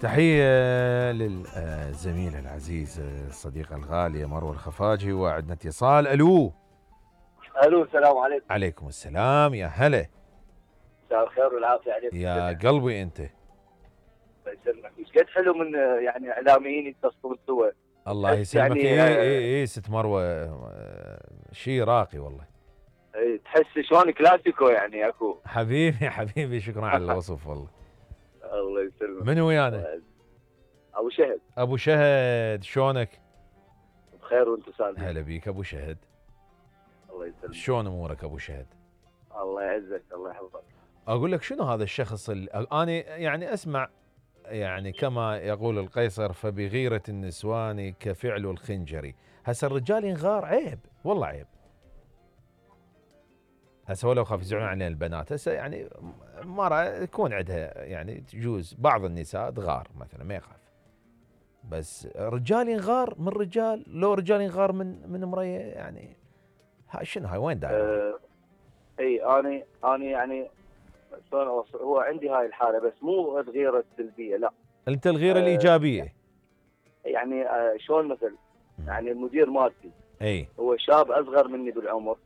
تحية للزميل العزيز الصديق الغالي مروة الخفاجي، وعندنا اتصال. الو السلام عليكم. عليكم السلام، يا هلا. مساء الخير والعافية عليكم يا قلبي انت. الله يسلمك. ايش قد حلو من يعني اعلاميين يتصلون سوا. الله يسلمك. يعني اي ست مروة، شيء راقي والله. تحس شلون كلاسيكو يعني اكو. حبيبي شكرا على الوصف والله. الله يسلمك. من ويانا؟ ابو شهد. ابو شهد شلونك؟ بخير وانت سالم. هلا بيك ابو شهد. الله يسلمك. شلون امورك ابو شهد؟ الله يعزك الله يحفظك. اقول لك شنو هذا الشخص اللي انا يعني اسمع، يعني كما يقول القيصر فبغيرة النسوان كفعل الخنجر. هسه الرجال ينغار عيب والله عيب. هسه ولو خاف يزعلون علينا البنات، هسه يعني مرة يكون عندها يعني تجوز بعض النساء تغار مثلا ما يخاف، بس رجال ينغار من رجال، لو رجال ينغار من امريه يعني شنو هاي وين داير؟ اي انا يعني هو عندي هاي الحالة، بس مو الغيرة السلبية لا. انت الغيرة الايجابية. يعني شلون مثل يعني المدير مالتي اي هو شاب اصغر مني بالعمر.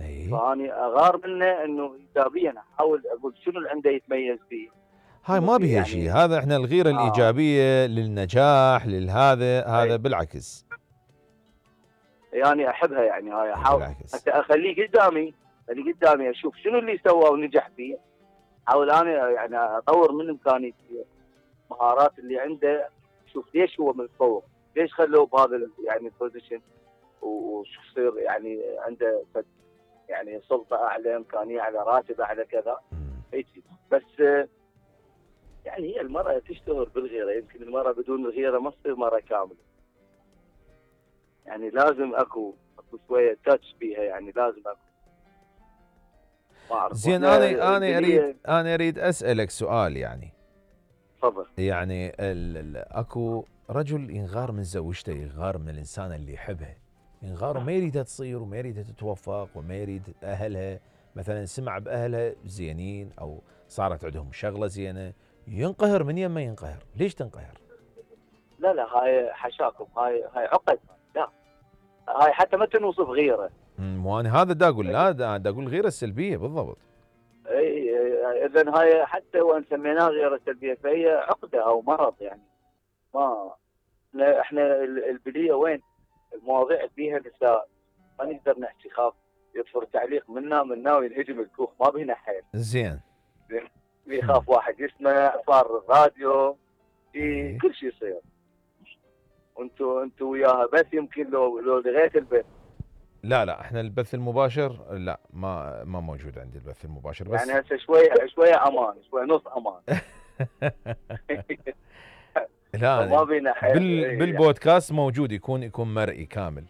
اي فاني اغار منه انه ايجابيا احاول اقول شنو اللي عنده يتميز فيه. هاي ما بيها يعني شيء، هذا احنا الغيرة الايجابية للنجاح للهذا بالعكس. يعني احبها يعني هاي احاول بالعكس. حتى اخليه قدامي اشوف شنو اللي سواه ونجح فيه. احاول انا يعني اطور من امكانياتي المهارات اللي عنده، شوف ليش هو متفوق، ليش خلوه بهذا يعني البوزيشن، وشو يصير يعني عنده يعني سلطه اعلى، امكانيه اعلى، راتب اعلى كذا هيك. بس يعني هي المراه تشتهر بالغيره، يمكن المراه بدون الغيره ما تصير مراه كامله. يعني لازم اكو شويه تاتش بيها، يعني لازم اكو. ما اعرف. زين انا اريد اسالك سؤال يعني. تفضل. يعني اكو رجل ينغار من زوجته، ينغار من الانسان اللي يحبها، ينغار وما يريدها تصير وما يريدها تتوفق وما يريد اهلها مثلا سمع باهلها زينين او صارت عندهم شغله زينه، ينقهر. من يمه ينقهر. ليش تنقهر؟ لا هاي حشاكم، هاي عقد. لا هاي حتى ما تنوصف غيره. وانا هذا دا اقول، لا دا اقول الغيره السلبيه بالضبط. اي اذا هاي حتى وان سميناها غيره سلبيه فهي عقده او مرض يعني. ما احنا البليه وين المواضيع اللي فيها نساء ما نقدر نحكي، خاف يطفر تعليق منا وينهجم الكوخ، ما بينا حيل. زين يخاف واحد يسمع، صار الراديو كل شيء يصير. انتوا وياها بس يمكن لو لغيت البث. لا احنا البث المباشر لا ما موجود عندي البث المباشر، بس يعني هسه شويه امان، شويه نص امان. لا ما بينا حيل. بالبودكاست موجود، يكون مرئي كامل.